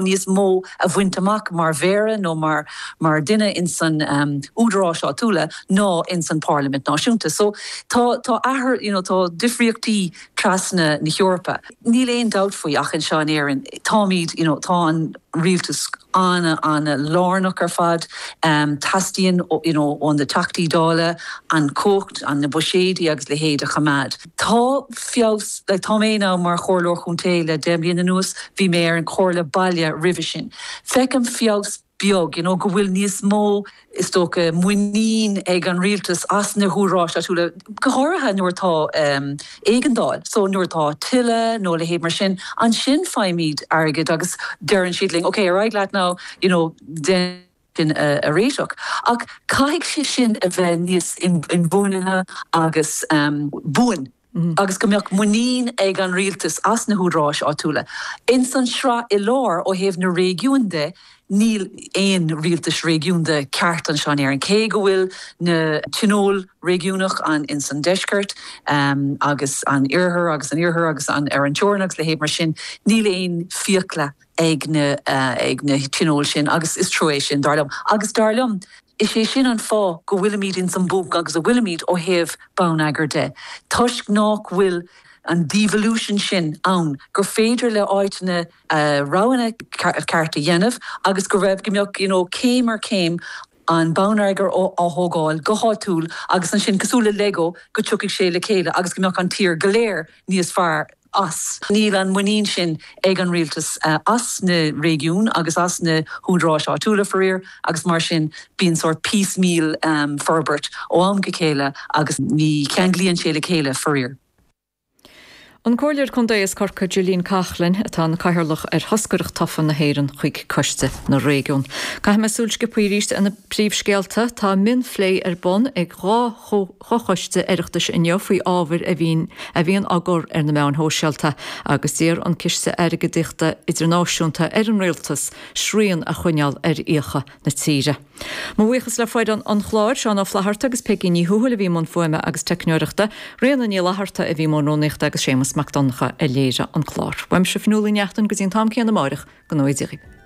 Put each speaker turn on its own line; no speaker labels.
Níos mó a bhaint amach mar mhéara nó mar mar duine ins an údaráis áitiúla ná ins an Parlaimint náisiúnta. So tá tá athair you know tá difríochtaí trasna na hEorpa. Níl aon dabht faoi ach anseo in Éirinn táimid you know tá an rialtas ana ana lárnach ar fad. Teastaíonn you know ó na Teachtaí Dála an chumhacht, an na buiséidí agus leithéid a choimeád. Tá feabhas, like tá mé now mar chomhairleoir chontae le 10 mbliana anuas, bhí mé ar an chomhairle baile roimhe sin. Feicim feabhas beag, you know, go bhfuil níos mó, is dócha, muinín ag an rialtas as na húdaráis áitiúla, go háirithe nuair atá éigeandáil. So nuair atá tuile nó a leithéid mar sin, ansin faighimid airgead agus deireann siad linn, ok, ar aghaidh leat now, you know, déan sin a réiteach. Ach caithfidh sé sin a bheith níos inbhuanaithe agus buan agus go mbeadh muinín ag an rialtas as na húdaráis áitiúla. Ins an sraith i lár ó thaobh na réigiún de, níl aon rialtas réigiúnda ceart anseo in Éirinn, cé go bhfuil na tionóil réigiúnach an ins an deisceart agus an iarthar agus an iarthar agus an ar an teorainn agus leithéid mar sin, níl aon fiacla ag na ag na tionóil sin agus is trua é sin, dar liom. Agus dar liom, is é sin an fáth go bhfuilimid ins an bponc agus a bhfuilimid ó thaobh bonneagair de, toisc nách bhfuil an devolution sin ann, gur féidir le áiteanna a roghanna ceart a dhéanamh agus go raibh, go mbeadh, you know, céim ar chéim an bonneagar á thógáil go háitiúil agus ansin, cosúil le Lego, go dtiocfaidh sé le chéile agus go mbeadh an tír go léir níos fearr as. Níl an muinín sin ag an rialtas as na réigiúin agus as na húdaráis áitiúla, faraor, agus mar sin bíonn sórt piecemeal forbairt ó am go chéile agus ní cheanglaíonn sé le chéile, faraor.
An Comhairleoir Contae as Corcaigh Gillian Coughlan atá ina Cathaoirleach ar thoscaireacht tofa na hÉireann chuig Coiste na Réigiún. Caithfidh mé súil sciobtha arís ar na príomhscéalta. Tá mionphlé ar bun ag 2 fhochoiste Oireachtais inniu faoi ábhair a bhíonn a bhíonn á gcur ar na meáin shóisialta agus d'iarr an Ciste Airgeadaíochta Idirnáisiúnta ar an Rialtas srian a choinneáil ar fhiacha na tíre. Mo bhuíochas le foireann an chláir, Seán Ó Flatharta agus Peigí Ní Thuathail a bhí i mbun fuaime agus teicneoireachta, Ríona Ní Fhlatharta a bhí i mbun rúnaíochta agus Séamus Mac Donncha a léirigh an clár. Uaimse Fionnuala Ní Neachtain go dtí an t-am céanna amáireach, go ngnóthaí Dia dhaoibh.